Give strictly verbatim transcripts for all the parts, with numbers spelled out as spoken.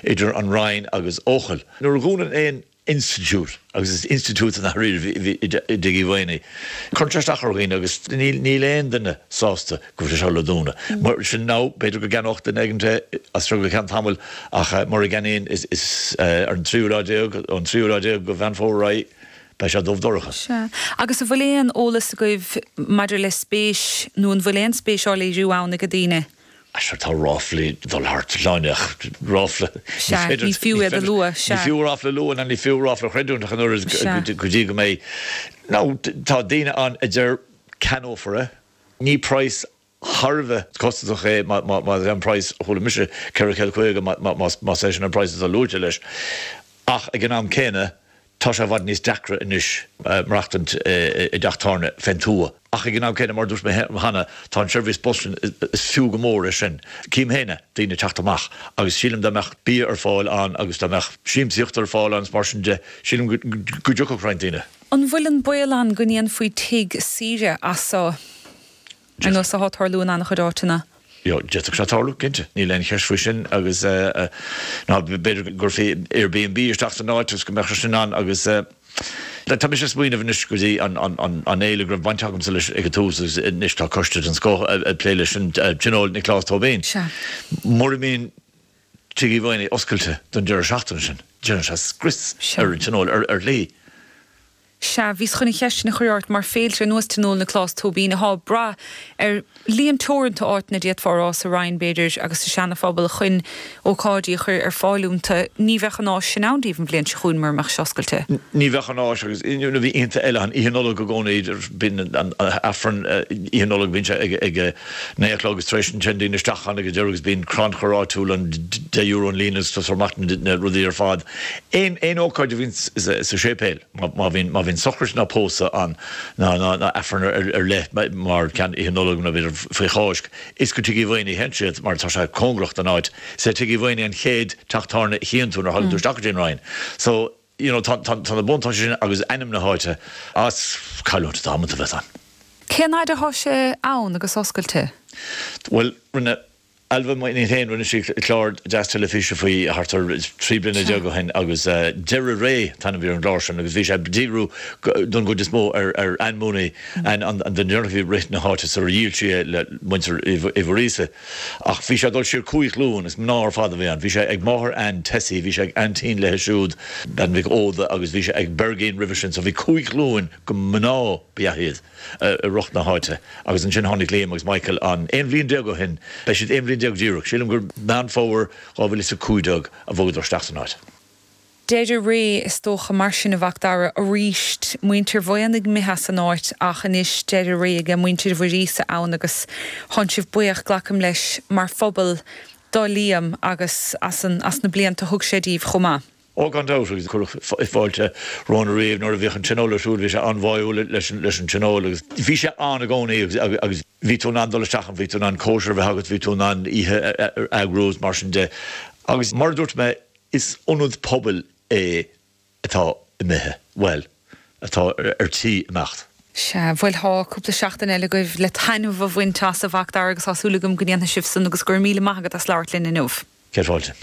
idir an Roinn agus Eochaill. Nuair a dhúnann aon institiúid agus is institiúid an i dTigh Uí Mhaonaigh. Cuireann sé isteach ar dhaoine agus níl aon duine sásta go bhfuil sé le dúnadh. Mar sin ná b'fhéidir go gceannódh duine éigin as seo go ceann tamaill ach mura gceannaíonn is ar an tríú lá déag an tríú lá déag de Mheán Fómhair beidh sé dubh dorcha. Sea. Agus an bhfuil aon eolas agaibh maidir le spéis nó an bhfuil aon spéis á léiriú ann ag daoine? Sure tá ráflaí dul thart láneach ráfla ní fiú iad a lua Ní fiú ráfla a lua ná ní fiú ráfla a chreidiúint ach an oiread go dtí go mbeidh. Nó tá daoine ann a deir ceannófar é, ní praghas thar a bheith costasach é má é an praghas a chuala mise ceithre chéad caoga más é sin an praghas atá luaite leis. Ach ag an am céanna tá sé i bhfad níos deacra anois maireachtaint i dteach tábhairne fén tuath. Ach ag an am céanna, mar a dúirt mé cheana, tá an seirbhís bus sin, is fiú go mór é sin. Cím féin daoine ag teacht amach agus sílim dá mbeadh bia ar fáil ann agus dá mbeadh siamsaíocht ar fáil ann is mar sin de, sílim go dtiocfadh roinnt daoine. An bhfuil an baol ann go ndéanfaí tigh saoire as seo? Ar nós atá ag tarlú in an-chuid áiteanna. D'fhéadfadh sé tarlú, cinnte. Níl aon cheist faoi sin agus ná b'fhéidir go gcuirfí Airbnb isteach san áit agus go mbeadh sé sin ann agus tá mise ag smaoineamh anois go dtí an fhéile go raibh baint agamsa leis ag an tús agus anois tá coiste den scoth ag plé leis sin, Tionól Nioclás Tóibín. Mura mbíonn Tigh Uí Mhaonaigh oscailte don deireadh seachtaine sin, déanann sé scrios ar an tionól ar shlí. Sea, bhíos chun an cheist sin a chur ort, mar féilte ar nós Tionól Nioclás Tóibín atá ag brath ar líon teoranta áiteanna d'fhéadfá a rá sa Rinn, b'fhéidir, agus sa Seana-Phobal chun ócáidí a chur ar fáil iontu. Ní bheadh an áis sin ann daoibh an bhliain seo chugainn mura mbeadh sé oscailte. Ní bheadh an áis agus bhí oícheanta eile ann, Oíche Nollag i gcónaí, bíonn an Aifreann Oíche Nollag, bíonn sé ag a naoi a chlog agus tar éis sin téann daoine isteach ann ag an deireadh agus bíonn crannchur áitiúil ann, deich euro an líne agus tabharfar amach na rudaí ar fad. Aon ócáid a bhíonn sa séipéal. Má bhíonn má bhíonn sochraid ná pósadh ann ná ná ná Aifreann ar ar leith mar ceann Oíche Nollag nó b'fhéidir faoi Cháisc, is go Tigh Uí Mhaonaigh a théann siad mar tá sé cóngarach don áit. Is é Tigh Uí Mhaonaigh an chéad teach tábhairne a chíonn tú nuair a thagann tú isteach go dtí an Rinn. So, you know, tá tá tá na buntáistí sin agus ainm na háite is cailliúint damanta a bheas ann. Cén fhaid atá sé ann agus oscailte? Bhuel, rinne Ailbhe m'iníon féin, rinne sí clár deas teilifíse faoi thart ar trí bliana déag ó shin agus Deireadh Ré an t-ainm a bhí ar an gclár sin agus bhí sé ag díriú don gcuid is mó ar ar Ann Mooney, Ann an duine deireanach a bhí ag rith na háite sular dhíol sí é le muintir Uí Mhuiríosa. Ach bhí sé ag dul siar cúig ghlúin, is mná ar fad a bhí ann. Bhí sé ag máthair Ann, Tessie, bhí sé ag aintín léi siúd, Bean Mhic Óda agus bhí sé ag Bergin roimhe sin so bhí cúig ghlúin de mhná ba ea iad. i rith na háite agus ansin tháinig Liam agus Michael ann aon bhliain déag ó shin, beidh siad aon bhliain déag díreach, sílim gur Meán Fómhair dhá mhíle is a cúig déag a bhogadar isteach san áit. Deireadh ré is dócha mar sin a Mhac Dara arís, muintir Mhaonaigh imithe as an áit ach anois deireadh ré aige muintir Mhuiríosa ann agus tánn sibh buíoch, glacaim leis, mar phobal do Liam agus as an as na blianta a thug sé díbh chomh maith. Ó, gan dabht, agus cuireadh fáilte romhainn ariamh nuair a bhíodh an tionól ar siúl, bhí sé an-bháúil leis an tionól agus bhí sé ann i gcónaí agus agus bhí tú in ann dul isteach ann, bhí tú in ann cóisir a bheith agat, bhí tú in ann oíche a eagrú agus mar sin de. Agus mar a dúirt mé, is ionad pobail é atá imithe, bhuel, atá ar tí imeacht. Sea, bhuel tá cúpla seachtain eile agaibh le taitneamh a bhaint as, a Mhac Dara, agus tá súil agam go ndéanfaidh sibh san agus go raibh míle maith agat as labhairt linn inniu. Céad fáilte.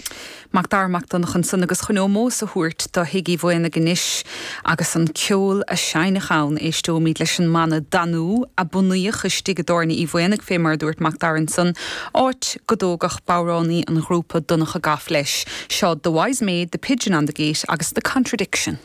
Mac Dara Mac Donncha ansan agus chun ómós a thabhairt do Thigh Uí Mhaonaigh anois agus an ceol a seinneadh ann, éisteoimid leis an mbanna Danú, a bunaíodh istigh i dTábhairne Uí Mhaonaigh fé mar a dúirt Mac Dara ansan, áit go dtógadh bodhránaí an ghrúpa Donncha Goff leis. Seo The Wise Maid, The Pigeon on the Gate agus The Contradiction.